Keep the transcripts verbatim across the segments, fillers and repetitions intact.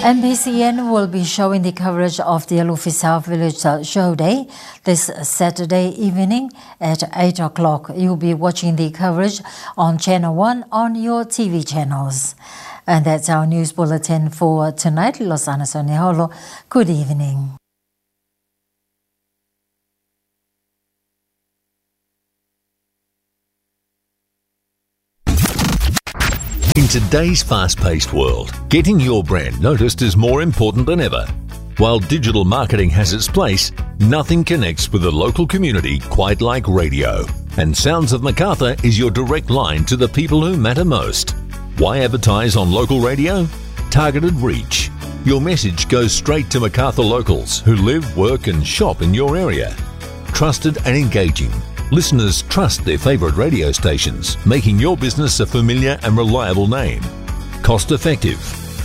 M B C N will be showing the coverage of the Alofi South Village, uh, Show Day this Saturday evening at eight o'clock. You'll be watching the coverage on Channel One on your T V channels. And that's our news bulletin for tonight. Losana Soneholo, good evening. In today's fast-paced world, getting your brand noticed is more important than ever. While digital marketing has its place, nothing connects with the local community quite like radio. And Sounds of Macarthur is your direct line to the people who matter most. Why advertise on local radio? Targeted reach. Your message goes straight to Macarthur locals who live, work and shop in your area. Trusted and engaging. Listeners trust their favourite radio stations, making your business a familiar and reliable name. Cost effective.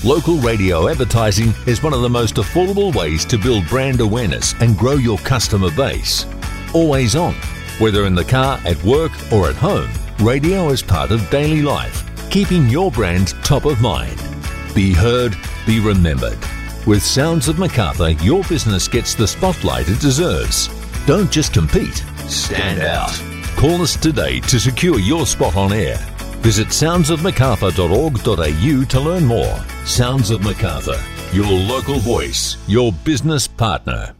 Local radio advertising is one of the most affordable ways to build brand awareness and grow your customer base. Always on. Whether in the car, at work or at home, radio is part of daily life, keeping your brand top of mind. Be heard, be remembered. With Sounds of Macarthur, your business gets the spotlight it deserves. Don't just compete, stand out. Call us today to secure your spot on air. Visit sounds of macarthur dot org dot A U to learn more. Sounds of Macarthur, your local voice, your business partner.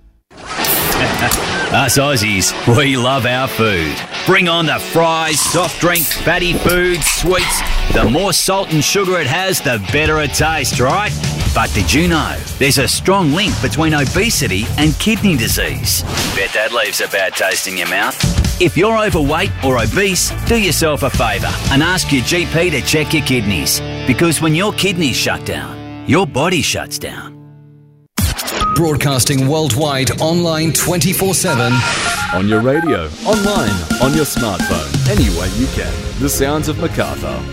Us Aussies, we love our food. Bring on the fries, soft drinks, fatty food, sweets. The more salt and sugar it has, the better it tastes, right? But did you know there's a strong link between obesity and kidney disease? Bet that leaves a bad taste in your mouth. If you're overweight or obese, do yourself a favour and ask your G P to check your kidneys. Because when your kidneys shut down, your body shuts down. Broadcasting worldwide, online twenty-four seven. On your radio, online, on your smartphone, any way you can. The Sounds of Macarthur.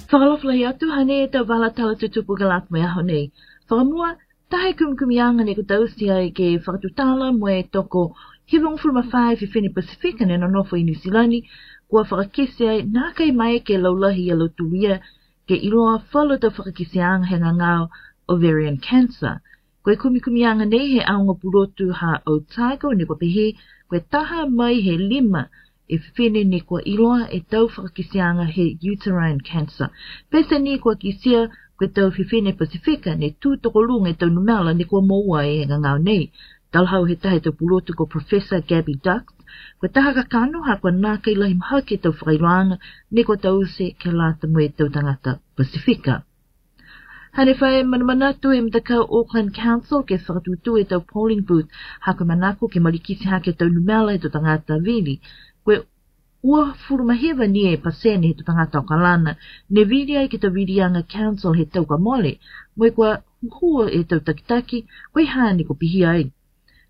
Fakaalofa lahi atu, hangē ʻetau vala tala tutupu ke lata mo e ʻaho nei. Fakamua, taha e kumikumiʻanga ne kuo tausia ke fakatutala mo e toko hivangofulu mā fā e fefine Pasifika ne nonofo ʻi Nuʻu Sila ni, kuo fakakite ai naʻe ʻikai maeke ke laulahi ʻa e lautolu ia ke ʻiloa falu ʻetau fakakiteʻanga he ngangao ovarian cancer. Ko e kumikumiʻanga nei he ʻaonga pulotu ha Otago ne kuo pehē ko e taha mei he lima e fefine ne kuo ʻiloa ʻetau fakakiteʻanga he uterine cancer. Pea ʻi he taimi ni kuo kitia ko ʻetau fefine Pasifika ne tuʻu tokoluʻi ʻetau numela ne kuo moua he ngangao nei. Talahau he taha ʻetau pulotu ko Professor Gabby Dux, ko e taha kakano ha kuo nākai lahi mahaki ʻetau fakaʻiloʻanga ne kuo tausia ke lata mo ʻetau tangata Pasifika. Hangē ko e fai manamanatu ʻe he matakau Auckland Council ke fakatuʻutuʻu ʻetau polling booth, ha ko e manako ke malikiti hake ʻetau numela ʻetau tangata vili. Ko e uofulu mā hiva ni e pasene ʻetau tangata ʻAokalana ne vili ai ki heʻetau viliʻanga council he taʻu kuo mole, mo e kuo huhua ʻetau takitaki, ko e hā ne kuo pihia ai.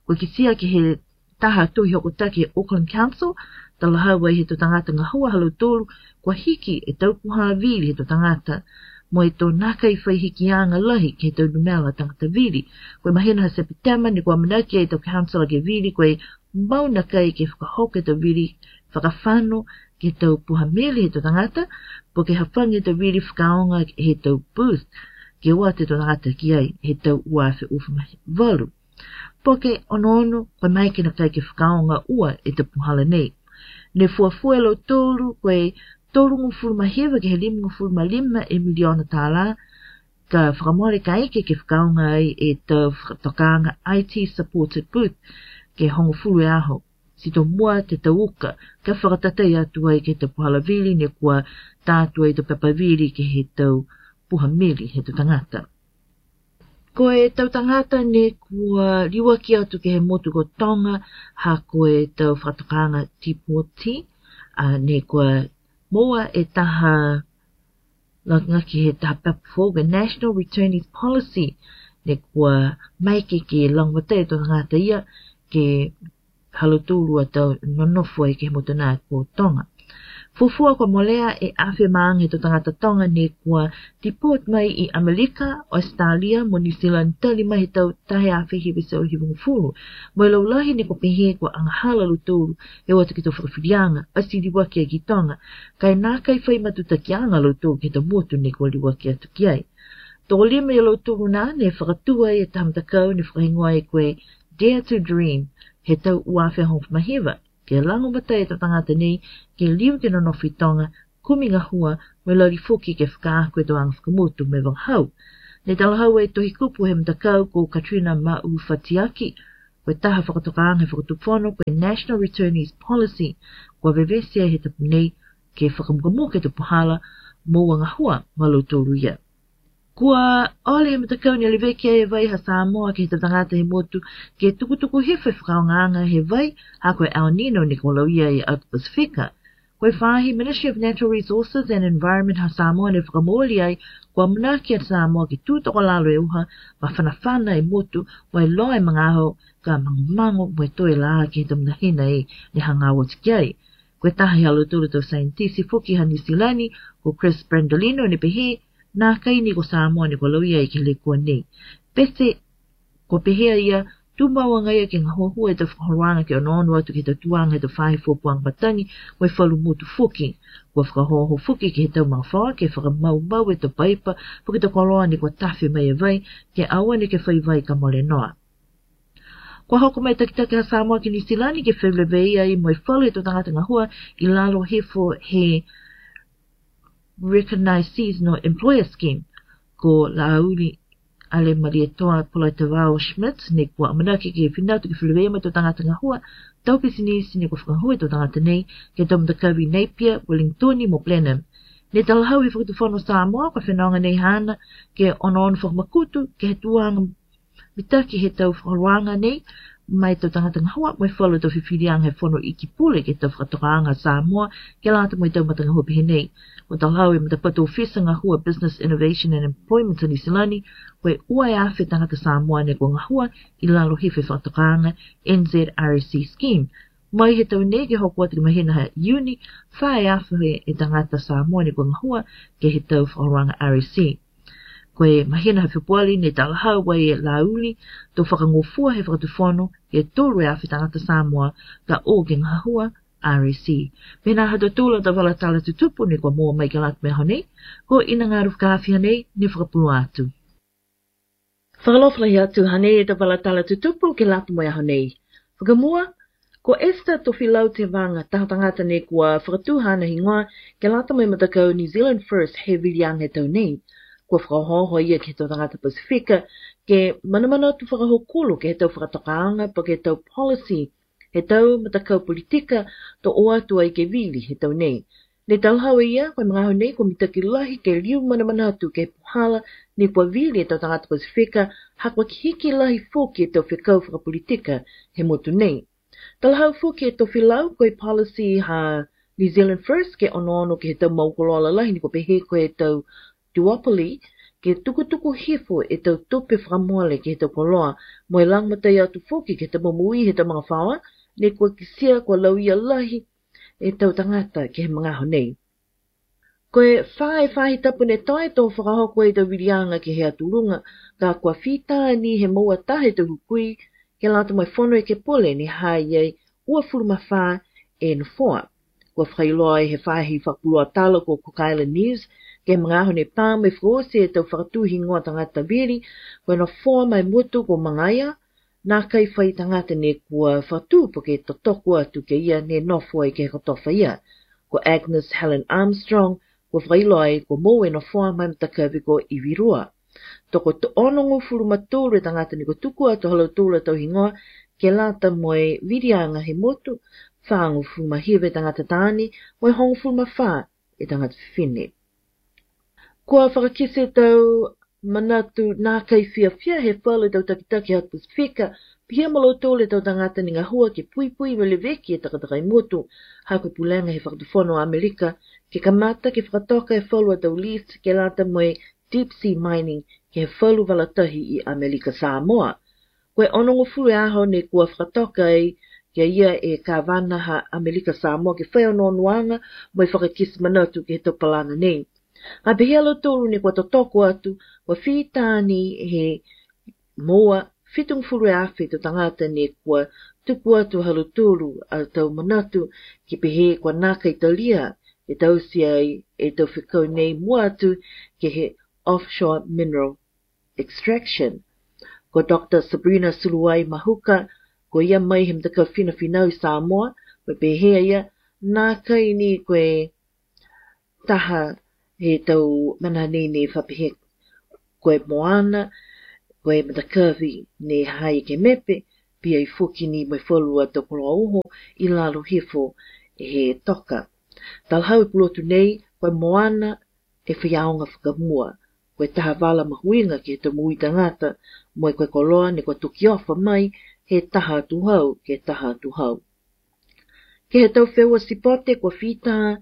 Kuo kitia ki he taha tohi hokotaki he Auckland Council, talahau ai he toʻu tangata ngahua ha lautolu kuo hiki ʻetau puha vili he toʻu tangata, mo e toʻu nākai faihikiʻanga lahi ki heʻetau numela tangata vili. Ko e māhina ʻa Sepitema ne kuo ʻamanaki ai ʻetau council ke vili ko e maʻu naʻe ʻikai ke fakahoko ʻetau vili fakafano ki heʻetau puha mili he toʻu tangata, pe ko e hāfanga ʻetau vili fakaʻaonga he ʻetau booth, ke ʻoatu ʻetau tangata ki ai he taʻu ua afe uofulu mā valu. Pe ko e onoono, ko e maʻu ke nākai ke fakaʻaonga ʻo ʻetau puhala nei. Ne fuofua ʻe lautolu ko e tolungofulu mā hiva ki he limangofulu mā lima e miliona tālā, ka fakamole ka ʻikai ke fakaʻaonga ai ʻetau fakatokanga I T supported booth ke hongofulu e ʻaho. Sio ki he taʻu uka, ka fakatatau atu ai ki heʻetau puhala vili ne kuo tā atu ai ʻetau pepa vili ki heʻetau puha mili he toʻu tangata. Ko ʻetau tangata ne kuo liuaki atu ki he motu ko Tonga, ha ko ʻetau fakatokanga deportee, ʻa, ne kuo moua e taha, langa ki he taha pepa foʻou, ko e National Returnees Policy, ne kuo maʻu ke ke langa atu ʻetau tangata ia ke ha lautolu ʻoku tau nonofo ai ki he motu na ko Tonga. Fuofua kuo molea ʻe afe mā ngeau e tangata Tonga ne kua deport mai ʻi ʻAmelika, ʻAositelēlia mo Nuʻu Sila tali mai he taʻu taha afe hiva seau hivangofulu. Mo e laulahi ne kua pehē kua angahala lautolu he ʻoatu ki he tau fakafilianga, ʻasi liuaki ai ki Tonga, kae nākai fai matutakiʻanga lautolu ki he tau motu ne kua liuaki atu ki ai. Toko lima ia lautolu nā ne fakatuʻu ai e tau matakau ne fakahingoa ai ko e Dare to Dream, he taʻu ua afe hongofulu mā hiva, ke langomatai e tau tangata nei ke liu ke nonofo ʻi Tonga, kumi ngahua, mo e lali foki ke fakaako e tau anga fakamotu mo e vangahau. Ne talahau e tohikupu he matakau ko Katrina Maʻufatiaki, ko e taha fakatokaʻanga he fakatufono ko e National Returnees Policy, kua vevesi ai he tapu nei ke fakamukamuka e tau puhala moʻua ngahua maʻa lautolu ia. Kua ʻosi he matakau ne leveki ai e vai ha Samoa ki he tau tangata he motu ke tukutuku hifo e fakaʻaongaʻanga he vai, ha ko e El Nino ne kua lau ia ʻi he ʻAtu Pasifika. Ko e faahi Ministry of Natural Resources and Environment ha Samoa ne fakamoʻoni ai, kua ʻamanaki ʻa Samoa ke tuʻu tokolalo e uha, mafanafana e motu, mo e loa e mangaoho, ka mangomango mo e toe lā ki he tau mahina ʻe ne hanga ʻo ʻosi ki ai. Ko e taha ia ha lautolu tau saienitisi foki ha Nuʻu Sila ni, ko Chris Brandolino ne pehē, nākai ni ko Samoa ne kua lau ia ʻi he lekua nei. Pete, kua pehē ia, tuʻu maʻu ange ia ke ngaohua e tau fakaholoʻanga ke ʻonoʻono atu ki he tau tuʻunga he tau faahi fuopuanga matangi mo e falu motu foki. Kua fakahoko foki ki he tau magafaoa ke fakamaumau e tau paipa, foki tau koloa ne kua tafe mai e vai, ke ʻoua ne ke fai vai ka mole noa. Kua hoko mai e takitaki ha Samoa ki Nuʻu Sila ni ke feleveia ai mo e falu e tau tangata ngahua ʻi lalo hifo he Recognised Seasonal Employer Scheme, ko Lāuli ʻAlemalietoa Polaitavao Schmidt, ne kua ʻamanaki ke finatu ke feleveia mo e tau tangata ngahua, tau pisinisi ne kua fakahū e tau tangata nei ki he tau matakau ʻi Napier, Wellington mo Blenheim. Ne talahau he fakatufono Samoa, kua fenoga nei haʻana ke ʻonoʻono fakamakutu ki he tuʻunga mitaki he tau fakaholoʻanga nei, maʻa e tau tangata ngahua, mo e falu tau fifilianga he fono iiki pule ki he tau fakatokaʻanga Samoa, ke lata mo e tau matangahua pehē nei. Kua talahau e matapatu ʻōfisa ngahua Business Innovation and Employment ʻa Nuʻu Sila ni, ko e ua e afe tangata Samoa ne kua ngahua ʻi lalo hifo e fakatokaʻanga N Z R S C scheme. Mai he taʻu nei ke hoko atu ki he mahina ha Iuni, fā e afe e tangata Samoa ne kua ngahua ki he tau fakaholoʻanga R S C. Ko e mahina ha Fepuali ne talahau ai ʻe Lāuli, tau fakangofua he fakatufono ke tolu e afe tangata Samoa ka ʻoku ngahua R S C. Pea ko e hā ha tau tula tau vala tala tutupu ne kua maʻu mai ke lata mo e ʻaho nei, ko ʻInangaru Fakaafi hanei ne fakapulu atu. Fakaalofa lahi atu, hanei e tau vala tala tutupu ke lata mo e ʻaho nei. Fakamua, ko Esther Tofilau Tevanga, taha tangata ne kua fakatuʻu haʻana hingoa ke lata mo e matakau New Zealand First he vilianga he taʻu nei. Kua fakaohooho ia ki he tau tangata Pasifika ke manamanatu fakahokulo ki he tau fakatokaʻanga pe ko e tau policy he tau matakau politika, tau ʻoatu ai ke vili he taʻu nei. Ne talahau ʻe ia, ko e magaaho nei kua mitaki lahi ke liu manamanatu ki he puhala ne kua vili ʻe he tau tangata Pasifika, ha kua hiki lahi foki e tau fekau fakapolitika he motu nei. Talahau foki ʻe Tofilau, ko e policy ha New Zealand First ke ʻonoʻono ki he tau maʻu koloa lalahi ne kua pehē ko e tau duopoly, ke tukutuku hifo e tau tupe fakamole ki he tau koloa, mo e langomatai atu foki ki he tau moʻui he tau magafaoa, ne kua kiʻi sia kua lauia lahi e tau tangata ki he magaaho nei. Ko e fā e faahi tapu ne toe tō fakahoko e tau vilianga ki he ʻatulunga, ka kua fita ni he moʻua taha e tau hukui, ke lata mo e fono ekepule ne hā ai ua fulu mā fā e nofoa. Kua fakailoa ai he faahi fakapulua tala ko Cook Island News, ki he magaaho ne pā mo e fakaʻosi e tau fakatuʻu hingoa tangata vili, ko e nofoa mei he motu ko Mangaia, nākai fai tangata ne kua fakatuʻu pe ke totoko atu ki ai ne nofo ai ki he kotofa ia. Ko Agnes Helen Armstrong, kua fakailoa ai kua moʻua e nofoa mei he matakavi ko ʻIvirua. Toko onongofulu mā tolu e tangata ne kua tuku atu ha lautolu e tau hingoa ke lata mo e vilianga he motu, fāngofulu mā hiva e tangata taʻane, mo e hongofulu mā fā e tangata fefine. Kua fakakite e tau manatu nākai fiafia he falu e tau takitaki ʻa e Pasifika, pehē mo lautolu e tau tangata ne ngahua ke puipui mo leveki e takatakai motu, ha ko e pulenga he fakatufono ʻAmelika, ke kamata ke fakatoka e falu e tau lease ke lata mo e deep sea mining ki he falu vala tahi ʻi ʻAmelika Samoa. Ko e onongofulu e ʻaho ne kua fakatoka ai kia ia ʻe Kavana ha ʻAmelika Samoa ke fai ʻo nonoʻanga mo e fakakisi manatu ki he tau palana nei. Ka pehē ʻa lautolu ne kua totoko atu, kua fita ni he moa fitungofulu ʻe afe tau tangata ne kua tuku atu ha lautolu ʻa tau manatu ke pehē kua nākai talia ke tausi ai e tau fekau nei muʻa atu ke he offshore mineral extraction. Ko Doctor Sabrina Suluai Mahuka, ko ia mai he matakau finafinau ʻi Samoa, mo pehē ia, nākai ni ko e taha he tau mana nei ne fapehe ko e moana, ko e matakavi ne hai ke mepe, pea ʻi foki ni mo e falu ʻa tau koloa uho ʻi lalo hifo he toka. Talahau e pulotu nei, ko e moana e faiaonga fakamua, ko e taha vala mahuʻinga ke he tau moʻui tangata, mo e ko e koloa ne kua tuki ofa mai he taha atu hau ke taha atu hau. Ke he tau feua sipote kua fita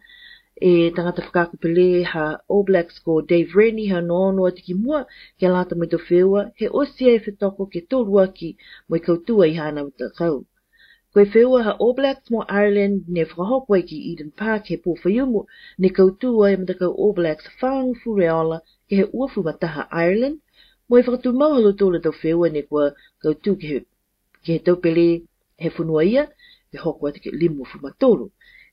e tangata fakaako pele ha All Blacks ko Dave Rennie ha nono atu ki muʻa ke lata mo e tau feua he ʻosi e fetoko ke toluaki mo e kautū ʻi hana matakau. Ko e feua ha All Blacks mo Ireland ne fakahoko ai ki Eden Park he pō Faiumu ne kautū ai matakau All Blacks fāngofulu ʻe ola ke he uofulu mā taha Ireland, mo e fakatumau ha lautolu tau feua ne kua kautū ke he, ke he tau pele he fonua ia, ke hoko atu ke limofulu mā tolu.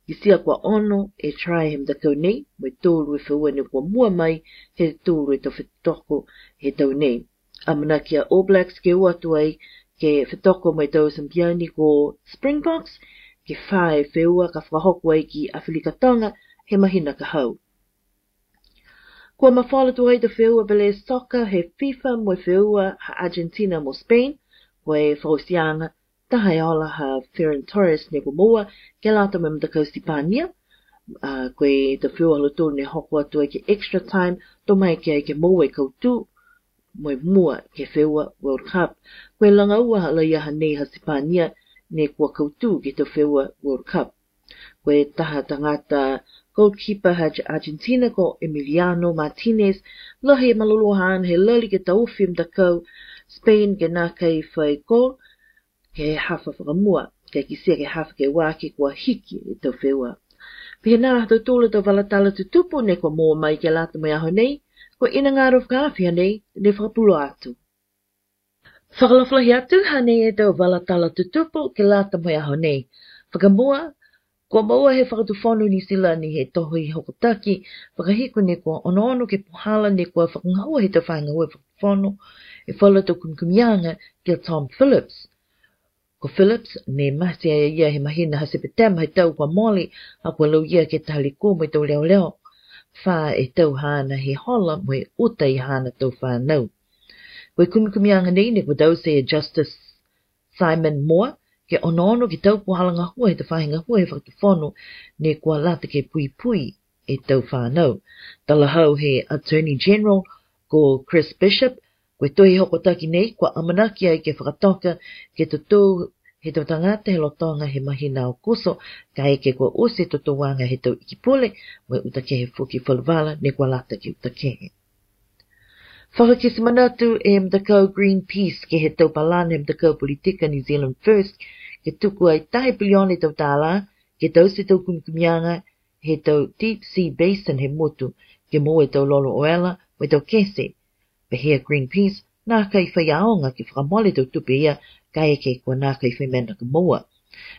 Kiʻi sia kua ono e try he matakau nei, mo e tolu e feua ne kua muʻa mai he tolu e tau fetoko he tau nei. ʻAmanaki ʻa All Blacks ke ʻoatu ai ke fetoko mo e tau Samipiani ko Springboks, ke fā e feua ka fakahoko ai ki ʻAfilika Tonga he mahina ka hau. Kua mafola atu ai tau feua pele soka he FIFA mo e feua ha Argentina mo Spain, ko e fakaʻosiʻanga taha e ola ha Ferran Torres ne kua moua ke lata mo e matakau Sipania, ʻa, ko e tau feua ha lautolu ne hoko atu ai ke extra time, tō mai ke ai ke moua e kautū, mo e muʻa ke feua World Cup. Ko e langa ua ha laia ha nei ha Sipania ne kua kautū ke tau feua World Cup. Ko e taha tangata goalkeeper ha Argentina ko Emiliano Martinez, lahi e malolō haʻana he lali ke tau ofi matakau Spain ke nākai fai goal, ke he hafa fakamua, ke kiʻi sia ke hafa ke uaki kua hiki e tau feua. Pehē nā ha tautolu tau vala tala tutupu ne kua moua mai ke lata mo e ʻaho nei, ko ʻIna Ngaro Fakaafe ha nei ne fakapulo atu. Fakalofolahi atu ha nei e tau vala tala tutupu ke lata mo e ʻaho nei. Fakamua, kua moua he Fakatufono Nuʻu Sila ni he tohi hokotaki fakahiku ne kua onoono ke puhala ne kua fakangahua he tau faʻahinga ngāue Fakatufono e falu tau kumikumiʻanga kia Tom Phillips. Ko Phillips, ne mate ai ia he mahina ha Sepitema he tau kua mole, ʻa kua lau ia ke tali kua mo e tau leoleo. Fā e tau haʻana he hola mo e ʻuta ʻi haʻana tau fānau. Ko e kumikumiʻanga nei ne kua tausi ʻe Justice Simon Moore, ke onoono ke tau puhala ngahua he tau faʻahinga ngāue he Fakatufono ne kua lata ke puipui e tau fānau. Talahau he Attorney General ko Chris Bishop, ko e tohi hokotaki nei, kua ʻamanaki ai ke fakatoka ke totou he tau tangata he lolotonga he mahina ʻo ʻAokuso, kae kehe kua ʻosi e totouʻanga he tau ʻEiki Pule, mo e ʻuta kehe foki falu vala ne kua lata ke ʻuta kehe. Fakakisi manatu e matakau Greenpeace ke he tau palana he matakau politika New Zealand First, ke tuku ai taha piliona e tau tālā, ke tausi e tau kumikumiʻanga he tau deep sea basin he motu, ke moua e tau lolo ʻoela mo e tau kese. Pehē ʻa Greenpeace, nākai faiaonga ke fakamole e tau tupe ia, kae kehe kua nākai fai meʻa naʻa ke moua.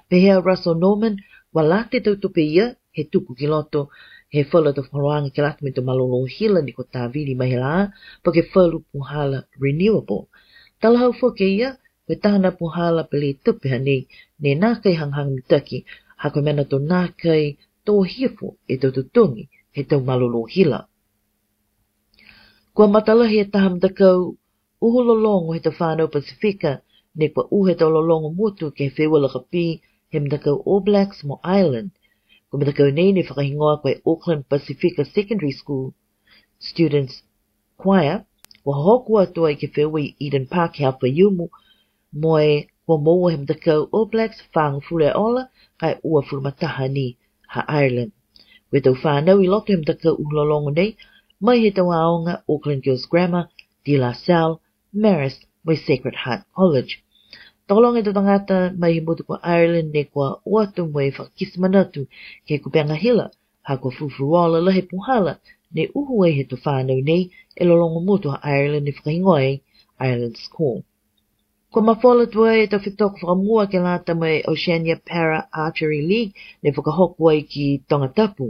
Pehē ʻa Russell Norman, kua lata e tau tupe ia he tuku ki loto he falu tau fakaholoʻanga ke lata mo e tau mālōlō hila ne kua tāvili mai he laʻā, pea ko e falu puhala renewable. Talahau foki ʻe ia, ko e taha e puhala pele tupe ha nei, ne nākai hangahanga mitaki, ha ko e meʻa naʻa tau nākai tō hifo e tau totongi he tau mālōlō hila. Kua matalahi e taha matakau ʻuhu lologo he tau fānau Pasifika, ne kua ʻuhu e tau lologo motu ke he feua lakapī he matakau All Blacks mo Ireland. Ko e matakau nei ne fakahingoa ko e Auckland Pasifika Secondary School Students Choir, kua hoko atu ai ke feua ʻi Eden Park he Faiumu, mo e kua moua he matakau All Blacks fāngofulu e ola, kae uofulu mā taha ni ha Ireland. Ko e tau fānau ʻi loto he matakau ʻuhu lologo nei, mai he tau ʻaonga Auckland Girls Grammar, De La Salle, Marist, mo e Sacred Heart College. Tokoluange ʻetau tangata mai he motu ko Ireland ne kua ʻoatu mo e fakakisi manatu ki he kupenga hila, ha kua fufuluola lahi e puhala ne uhu ai he tau fānau nei ʻe he lolongomotu ʻa Ireland ne fakahingoa ai Ireland's Call. Kua mafola tuai ʻetau fetoko fakamua ke lata mo e Oceania Para Archery League ne fakahoko ai ki Tongatapu.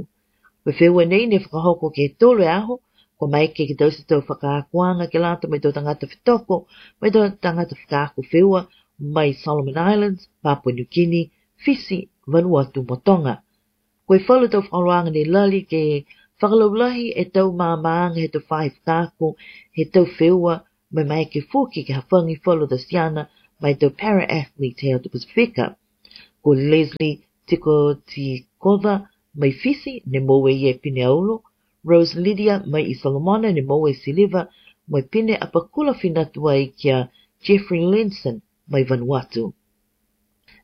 Ko e feua nei ne fakahoko ki he tolu e ʻaho, kua maeke ke tau ʻosi ʻetau fakaakoʻanga ke lata mo ʻetau tangata fetoko, mo ʻetau tangata fakaako feua mai Solomon Islands, Papua New Guinea, Fisi, Vanuatu mo Tonga. Ko e falu ʻetau fakaholoʻanga ne lali ke fakalaulahi ʻetau maamaʻanga he tau faʻahi fakaako, he tau feua, mo e maeke foki ke hāfangi falu ʻetau siana mei he tau para athlete he ʻato Pasifika. Ko Leslie Tikotikova mei Fisi ne moʻua ʻi he pine ʻaolo, Rose Lydia mei Solomona ne moʻua ʻi he siliva, mo e pine ʻapakula fina tuai kia Jeffrey Linson mei Vanuatu.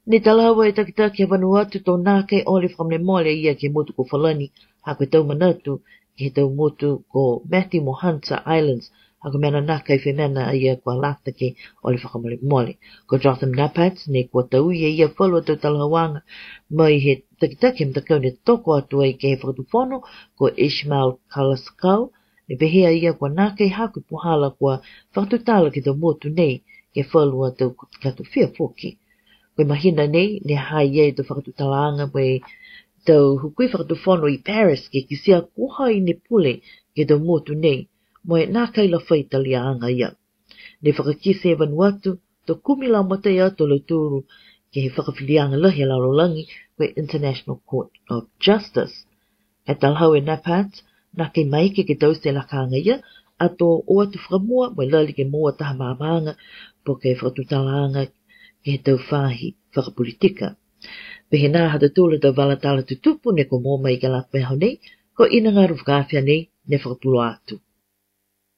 Ne talaʻofa e takitaki ʻa Vanuatu ʻo nākai ʻosi fakamolemole ia ki he motu ko Falani, ha ko e tau manatu ki he tau motu ko Matthew mo Hunter Islands, ha ko e meʻa naʻe nākai fai meʻa naʻa ia kua lata ke ʻosi fakamolemole. Ko Jotham Nappert ne kua tauʻi ʻe ia falu ʻetau talaʻofa mai he takitaki he matakau ne toko atu ai ki he fakatufono, ko Ishmael Kalaskau, ne pehē ʻe ia kua nākai hoko e puhala kua fakatutala ki he tau motu nei ki he falu ʻetau katofia foki. Ko e māhina nei, ne haʻi ai ʻetau fakatutalanga mo ʻetau hukui fakatufono ʻi Paris ke kiʻi sio ko hai ne pule ki he tau motu nei, mo e nākai lava fai taliaʻanga ia. Ne fakakisi ʻe Vanuatu ʻetau kumi laumālie ʻo lautolu ki he fakafilianga lahi ʻa e lalolagi, ko e International Court of Justice. ʻE talaʻofa ʻe Nappert, nākai maeke ke tau ʻosi e lakanga ia, ʻato ʻoatu fakamua mo e lali ke moʻua ha taha maamaʻanga, pe ko e fakatutalanga ki he tau faʻahi fakapolitika. Pehē nai ha taha ʻo ʻetau vala tala tutupu ne kua moʻua mai ki he lata ʻo e ʻaho nei, ko ʻIna Ngalu Fakaafeʻi nei ne fakapuloa atu.